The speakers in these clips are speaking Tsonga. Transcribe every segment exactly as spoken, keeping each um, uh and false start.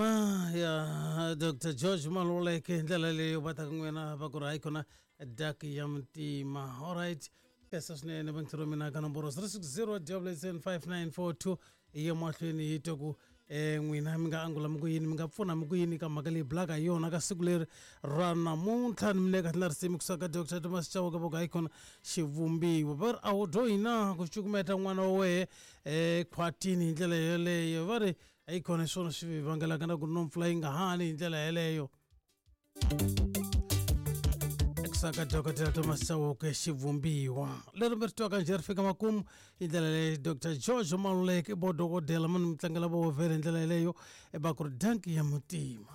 Muntima ya Doctor George Maluleke hi ndlela leyo va taka n'wina va ku ri hayi kona dak ya Muntima. Alright, kesa swinene vangithero mina ka nomboro zero six zero double seven five nine four two hi ya mahlweni hi twa ku um n'wina mi nga angula mi ku yini, mi nga pfuna mi ku yini ka mhaka leyi bulaka hi yona ka siku leri ra namuntlha. Ni mi neka na risimu kusuka ka Doctor Thomas Chauke va ku hayi kona xivumbiwa. Va ri a wu dyohi na ku cukumeta n'wana wa wehe um khwatini hi ndlela yeleyo. Va ri hayi kona hi swona swi vangelaka na ku no mpfula yi nga hani hi ndlela yeleyo. Saka Doctor Thomas Chauke xivumbiwa leri mi ri twaka njhe ri fika makumu hi ndlela leyi Doctor George Maluleke bo dokodela mani mi tlangela vo vhele hi ndlela yeleyo va ku ri danki ya Muntima.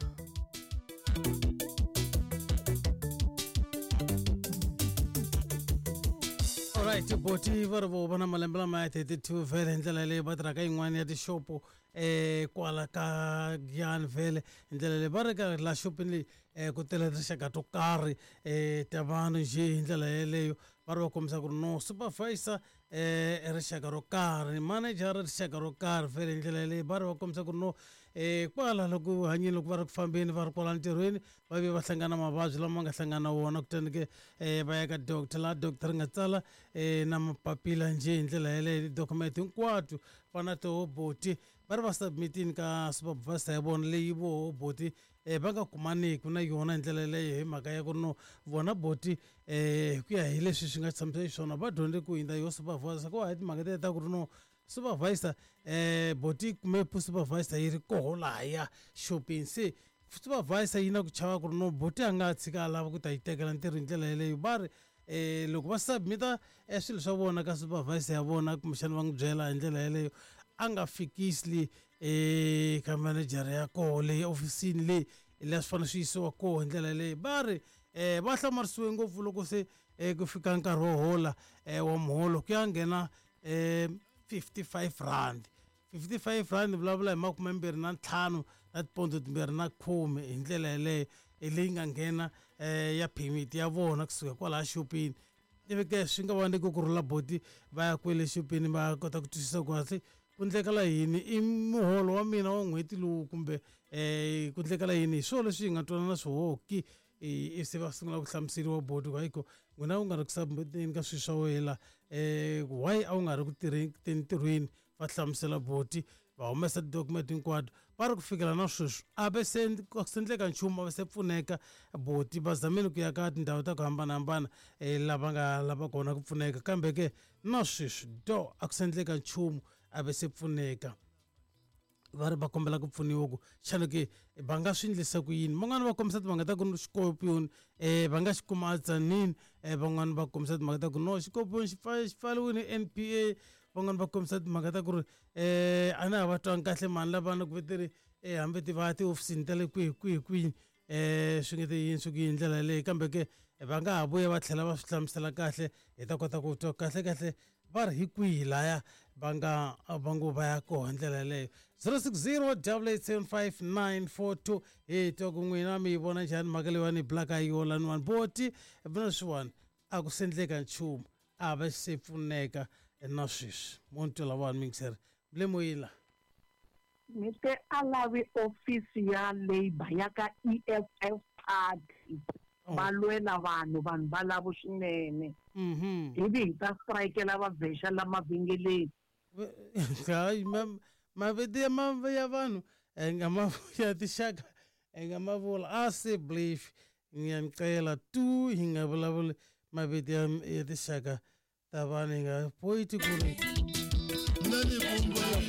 Alright, boti va ri vo va na malembe lama ya thirty two vhele hi ndlela leyi va tirhaka yin'wana ya tixopo um kwala ka Giyani vhele hi ndlela leyi va ri ka la xopeni leyi um ku tele tinxaka to karhi um ta vanhu njhe hi ndlela yeleyo. Va ri va kombisa ku ri no supervisor um rixaka ro karhi, manager rixaka ro karhi vhele hi ndlela yeleyo. Va ri va kombisa ku ri no um kwala loko hanyeni loko va ri ku fambeni va ri kwala ntirhweni va vuye va hlangana mavabyi lama nga hlangana na wona, kutani ke um va ya ka doctor laha doctor ri nga tsala um na mapapila njhe hi ndlela yeleyo, ti-document hinkwato va na toho boti va ri va submitini ka supervisor ya vona leyi voho boti um va nga kumaniki na yona hi ndlela yeleyo hi mhaka ya ku ri no vona boti um hi ku ya hi leswi swi nga tshamisa xiswona va dyondze ku hundza yo supervisor ku hayi timhaka tete ta ku ri no supervisor um boti kume supervisor yi ri koho lahaya xopeni, se supervisor yi na ku chava ku ri no boti a nga tshika a lava ku ta yi tekela ntirho hi ndlela yeleyo. Va ri um loko va submita swilo swa vona ka supervisor ya vona kumbexana va n'wi byela hi ndlela yeleyo a nga fikisi um ka manager ya koho leyi ofisini leyi laha swi fanele swi yisiwa koho hi ndlela yeleyo. Va ri um va hlamarisiwe ngopfu loko se um ku fika nkarhi wo hola um wa muholo ku ya nghena um fifty five rand fifty five rand vulavula hi makumembirhi na ntlhanu na tipondo timbirhi na khume hi ndlela yeleyo leyi nga nghena um ya permit ya vona kusuka kwalaha xopeni. Ivi ke swi nga va nyiki ku rhula boti va ya kwele xopeni va kota ku twisisa ku kahle ku ndlekela yini i muholo wa mina wa n'hweti lowu kumbe um ku ndlekela yini. Hi swona leswi hi nga twanana swihoki i se va sungula ku hlamuseriwa boti ku hayiko n'wina u nga ri ku submiteni ka swilo swa wena um why a wu nga ri ku tirheni ntirhweni. Va hlamusela boti va humesa ti-document hinkwato va ri ku fikela na sweswi a ve se se endleka nchumu a va se pfuneka boti. Va zamile ku ya ka tindhawu ta ku hambanahambana um lava nga lava kona ku pfuneka kambe ke na sweswi do a ku se endleka nchumu a ve se pfuneka. Va ri va kombela ku pfuniwa ku xana ke va nga swi endlisa ku yini. Van'wani va kombisa timhaka ta ku xikorpion um va nga xi kuma a Tzaneen, um van'wani va kombisa timhaka ta ku no xikorpion xi xi pfariwile N P A, van'wani va kombisa timhaka ta ku ri um a na ha va twangi kahle mhani lavana ku veteri um hambi ti va tihofisini ta le kwihi kwihi kwihi um swi nge te yini swi ku yini ndlela yeleyo. Kambe ke va nga ha vuya va tlhela va swi hlamusela kahle hi ta kota ku twa kahle kahle va ri hi kwihi laya va nga va ngo va ya koho hi ndlela yeleyo. zero six zero double eight seven five nine four two hi twa ku n'wina mi yi vona njhani mhaka leyiwani hi bulaka hi yona laniwani boti na leswiwani a ku se endleka nchumu a va se pfuneka na sweswi. Mo ni twa lavawani mingiseri mi le moyeni la. Ni te a lavi ofisi ya Labour ya ka E F F party va lwela vanhu vanhu va lava swinene ivi hi ta strikela va vhexa la mavhengeleni. Hayi mavito ya ya vanhu hi nga ma ya tinxaka hi nga ma vula a se belief ngiyacela tu hi nga vulavuli mavito ya ya tinxaka ta vanhu hi nga poyiti ku ri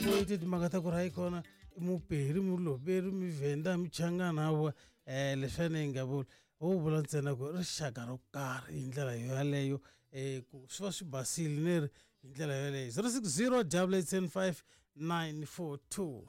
poyiti timhaka ta ku ri hayi kona i muperi muloberi muvhenda muchangana wa um leswiwani hi nga vuli ho vula ntsena ku rixaka ro karhi hi ndlela yoyaleyo um ku swi va swi basile ni ri hi ndlela yoyaleyo. Zero six zero double eight seven five nine four two.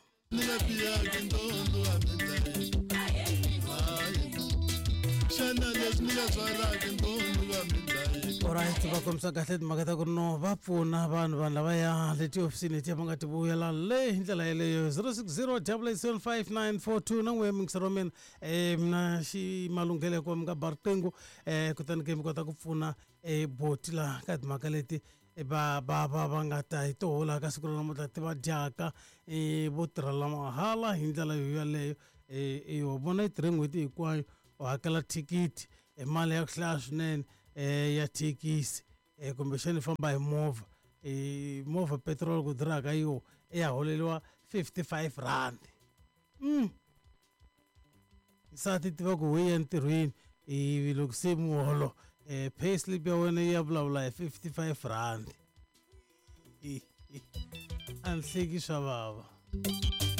Alright, va kombisa kahle timhaka ta ku ri no va pfuna vanhu vanhu lavaya le tihofisini letiya va nga ti vuyela le hi ndlela yeleyo. Zero six zero double eight seven five nine four two na n'we mingiseri wa mina um mina xi malunghelo ya ku va mi nga ba riqingho um kutani ke mi kota ku pfuna um boti laha ka timhaka leti va va va va nga ta hi toho laha ka siku ra namuntlha ti va dyaka um vo tirhela mahala hi ndlela yo yaleyo. um wa vona yi tirhe n'hweti hinkwayo u hakela thikithi hi mali ya ku hlaya swinene um ya thekisi um kumbexana i famba hi movha um movha petrol ku durhaka yo i ya holeliwa fifty five rand mm. Nsati tiva ku we ya ntirhweni ivi loko se muholo um pay slip ya wena yi ya vulavula hi fifty five rand. A ni hleki swa vava.